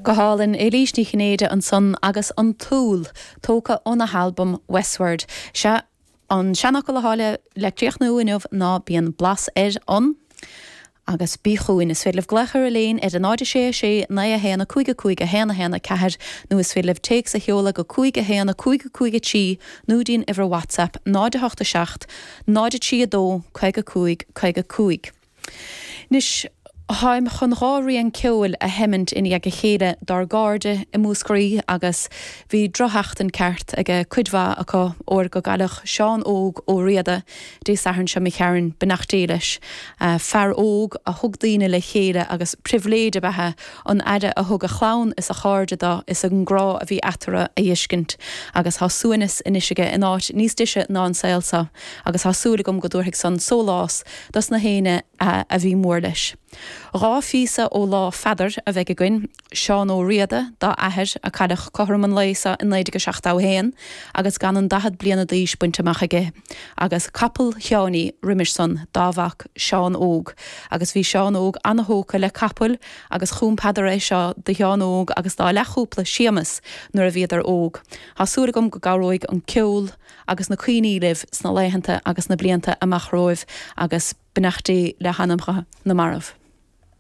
Go hálainn, Éilís Ní Chinnéide ansan agus An tÚll, tógtha óna halbam Westward. Sea, an seanfhocal atá le le críochnú inniu ná bíonn blas ar an agus bí chugainn. Is féidir libh glaoch ar Elaine ar 0 6 6 9 1 5 5 1 1 4 nó is féidir libh téacs a sheoladh go 5 1 5 5 3 nó dtí'n uimhir WhatsApp 0 8 7 0 3 2 55 55. Anois, táim chun dha rian ceoil a sheimint i ndiaidh a chéile dár gcairde i Múscraí agus bhí drochsheachtain ceart age cuid mhaith acu óir go gcailleadh Seán Óg Ó Riada Dé Sathairn seo imigh tharainn, beannacht Dé leis. Fear óg a thug daoine le chéile agus pribhléid ab ea an aire a thug a chlann is a chairde do is an grá a bhí eatarthu a fheiscint agus tá suaimhneas anois aige in áit níos deise ná an saol seo agus tá súil agam go dtabharfaidh san sólás dos na héinne a bhí mór leis. Dha phíosa ó Lá Pheadair a bheidh againn, Seán Ó Riada, dá athair, a cailleadh cothrom an lae seo i 1971 agus gan an 40 bliana d'aois bainte amach aige, agus Capall Sheáiní roimis san, dá mhac Seán Óg. Agus bhí Seán Óg ana-thógtha le capaill agus chum Peadar é seo do Sheán Óg agus dá leathchúpla Séamas nuair a bhíodar óg. Tá súil agam go gcabhróidh an ceol, agus na cuimhní libh sna laethanta agus na blianta amach romhaibh agus beannacht Dé le hanamcha na marbh.